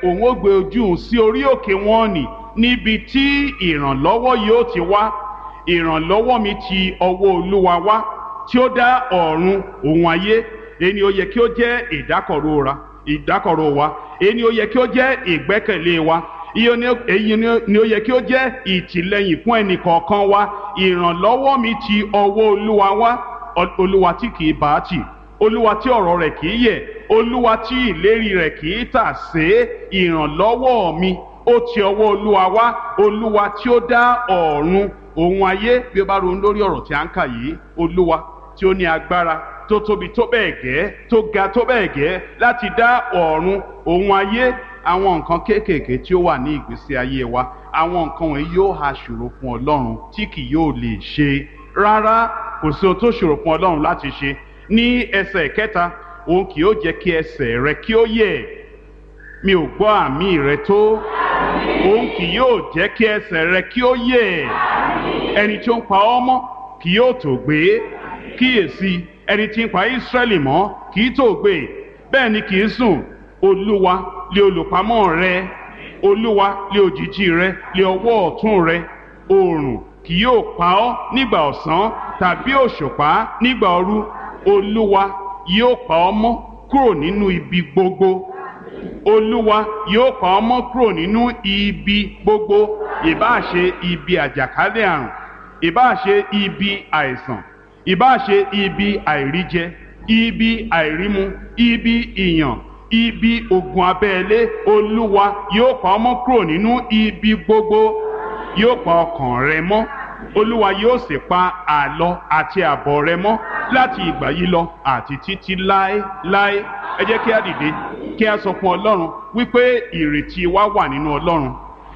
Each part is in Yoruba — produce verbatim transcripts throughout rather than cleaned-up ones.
Òun ó gbé ojú òun sí orí òkè wọn nì, níbi tí ìrànlọ́wọ́ yóò ti wá. Ìrànlọ́wọ́ mi ti ọwọ́ Olúwa wá, tí ó dá ọ̀run òun ayé. Èyí ni ó yẹ kí ó jẹ́ ìdákọ̀ró ra ìdákọ̀ró wa, èyí ni ó yẹ kí ó jẹ́ ìgbẹ́kẹ̀lé wa, èyí ni ó yẹ kí ó jẹ́ ìtìlẹ́yìn fún ẹnì kọ̀ọ̀kan wa. Ìrànlọ́wọ́ mi ti ọwọ́ Olúwa wá, Olúwa tí kì í bá tì, Olúwa tí ọ̀rọ̀ rẹ̀ kì í yẹ̀, Olúwa tí ìlérí rẹ̀ kì í tà sé. Ìrànlọ́wọ́ mi ó ti ọwọ́ Olúwa wá, Olúwa tí ó dá ọ̀run òun ayé. Bí ó bá ronú lórí ọ̀rọ̀ tí a ń kà yìí, Olúwa tí ó ní agbára tó tóbi tó bẹ́ẹ̀ gẹ́, tó ga tó bẹ́ẹ̀ gẹ́ láti dá ọ̀run òun ayé, àwọn nǹkan kéékèèké tí ó wà ní ìgbésí ayé wa, àwọn nǹkan wọ̀nyí yóò ha ṣòro fún Ọlọ́run tí kì yóò lè ṣe? Rárá, kò sí ohun tó ṣòro fún Ọlọ́run láti ṣe. Ní ẹsẹ̀ kẹta, òun kì yóò jẹ́ kí ẹsẹ̀ rẹ kí ó yẹ̀. Mi ò gbọ́ àmì rẹ tó. Òun kì yóò jẹ́ kí ẹsẹ̀ rẹ kí ó yẹ̀. Ẹni tí ó ń pa ọ́ mọ́ kì yóò tó gbé. Kíyèsí, ẹni tí ń pa Ísírẹ́lì mọ́ kì í tó gbé, bẹ́ẹ̀ ni kì í sùn. Olúwa lé olùpamọ́ rẹ, Olúwa lé òjìji rẹ, lé ọwọ́ ọ̀tún rẹ. Oòrùn kì yóò pa ọ́ nígbà ọ̀sán, tàbí òṣùpá nígbà òru. Olúwa yóò pa ọ́ mọ́ kúrò nínú ibi gbogbo. Olúwa yóò pa ọ́ mọ́ kúrò nínú ibi gbogbo, ìbáà ṣe ibi àjàkálẹ̀ àrùn, ìbáà ṣe ibi àìsàn, ìbáà ṣe ibi àìríjẹ, ibi àìrímu, ibi ìyàn, ibi ogun abẹ́lé. Olúwa yóò pa ọ́ mọ́ kúrò nínú ibi gbogbo, yóò pa ọkàn rẹ mọ́. Olúwa yóò sì pa àlọ àti àbọ̀ rẹ mọ́ láti ìgbà yìí lọ àti títí láéláé. Ẹ jẹ́ kí a dìde, kí a sọ fún Ọlọ́run wípé ìrètí wa wà nínú Ọlọ́run.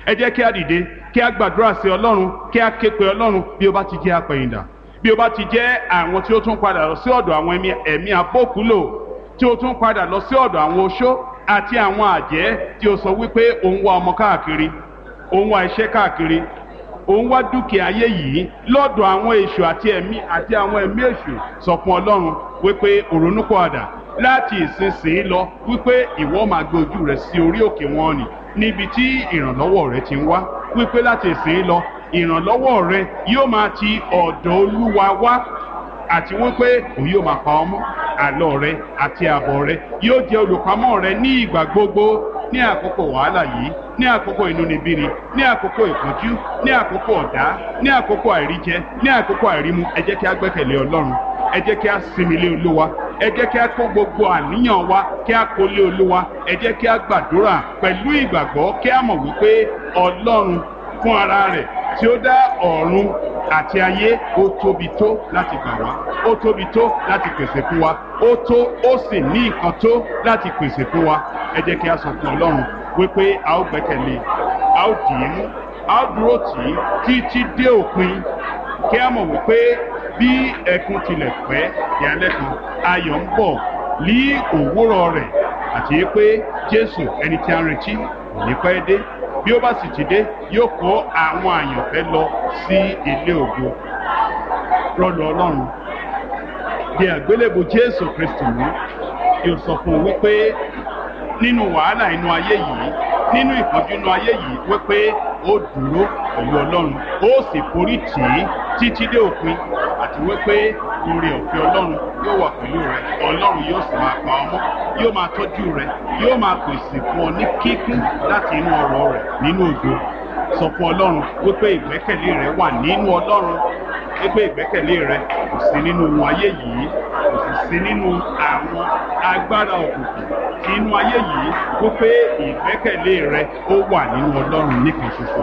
Ẹ jẹ́ kí a dìde, kí a gbàdúrà sí Ọlọ́run, kí a ké pe Ọlọ́run. Bí o bá ti jẹ́ apẹ̀yìndà, bí o bá ti jẹ́ àwọn tí ó tún padà lọ sí ọ̀dọ̀ àwọn ẹ̀mí abókúlò, tí ó tún padà lọ sí ọ̀dọ̀ àwọn oṣó àti àwọn àjẹ́, tí ó sọ wípé òun wá ọmọ káàkiri, òun wá iṣẹ́ káàkiri, òun wá dúkìá ayé yìí lọ́dọ̀ àwọn èṣù àti ẹ̀mí àti àwọn ẹ̀mí èṣù, sọ fún Ọlọ́run wípé òrónúpọ̀àdà láti ìsinsìnyí lọ, wípé ìwọ máa gbé ojú rẹ sí orí òkè wọn nì, níbi tí ìrànlọ́wọ́ rẹ ti ń wá, wípé láti ìsinsìnyí lọ ìrànlọ́wọ́ rẹ yóò máa ti ọ̀dọ̀ Olúwa wá, àti wípé òun yóò máa pa ọ́ mọ́. Àlọ́ rẹ àti àbọ̀ rẹ yóò jẹ́ olùpamọ́ rẹ ní ìgbà gbogbo, ní àkókò wàhálà yìí, ní àkókò inúnibíni, ní àkókò ìpọ́njú, ní àkókò ọ̀dá, ní àkókò àìríjẹ, ní àkókò àìrímu. Ẹ jẹ́ kí a gbẹ́kẹ̀lé Ọlọ́run, ẹ jẹ́ kí a sinmi lé Olúwa, ẹ jẹ́ kí a kó gbogbo àníyàn wa kí a kó lé Olúwa. Ẹ jẹ́ kí a gbàdúrà pẹ̀lú ìgbàgbọ́, kí a mọ̀ wípé Ọlọ́run fún ara rẹ̀ tí ó dá ọ̀run àti ayé, ó tóbi tó láti gbà wá, ó tóbi tó láti pèsè fún wa, ó tó, ó sì ní nǹkan tó láti pèsè fún wa. Ẹ jẹ́ kí a sọ fún Ọlọ́run wípé a ó gbẹ́kẹ̀lé, a ó dì í mú, a ó dúró tì í títí dé òpin, kí a mọ̀ wípé bí ẹkún tilẹ̀ pẹ́ di alẹ́ kan, ayọ̀ ń bọ̀ ní òwúrọ̀ rẹ̀, àti pé Jésù ẹni tí a ń retí kò ní pẹ́ dé. Bí ó bá sì ti dé, yóò kó àwọn àyànfẹ́ lọ sí ilé ògo. Rọ́lù Ọlọ́run di àgbélébù Jésù Kristi mú, yóò sọ fún un wípé nínú wàhálà inú ayé yìí, nínú ìpọ́njú inú ayé yìí, wípé ó dúró pẹ̀lú Ọlọ́run, ó sì forí tì í títí dé òpin, àti wípé oore ọ̀fẹ́ Ọlọ́run yóò wà pẹ̀lú rẹ. Ọlọ́run yóò sì máa pa ọ́ mọ́, yóò máa tọ́jú rẹ, yóò máa pèsè fún ọ ní kíkún láti inú ọrọ̀ rẹ̀ nínú ògo. Sọ fún Ọlọ́run wípé ìgbẹ́kẹ̀lé rẹ wà nínú Ọlọ́run, wípé ìgbẹ́kẹ̀lé rẹ kò sí nínú ohun ayé yìí, kò sì sí nínú àwọn agbára òkùnkùn tí inú ayé yìí, wípé ìgbẹ́kẹ̀lé rẹ ó wà nínú Ọlọ́run nìkan ṣoṣo.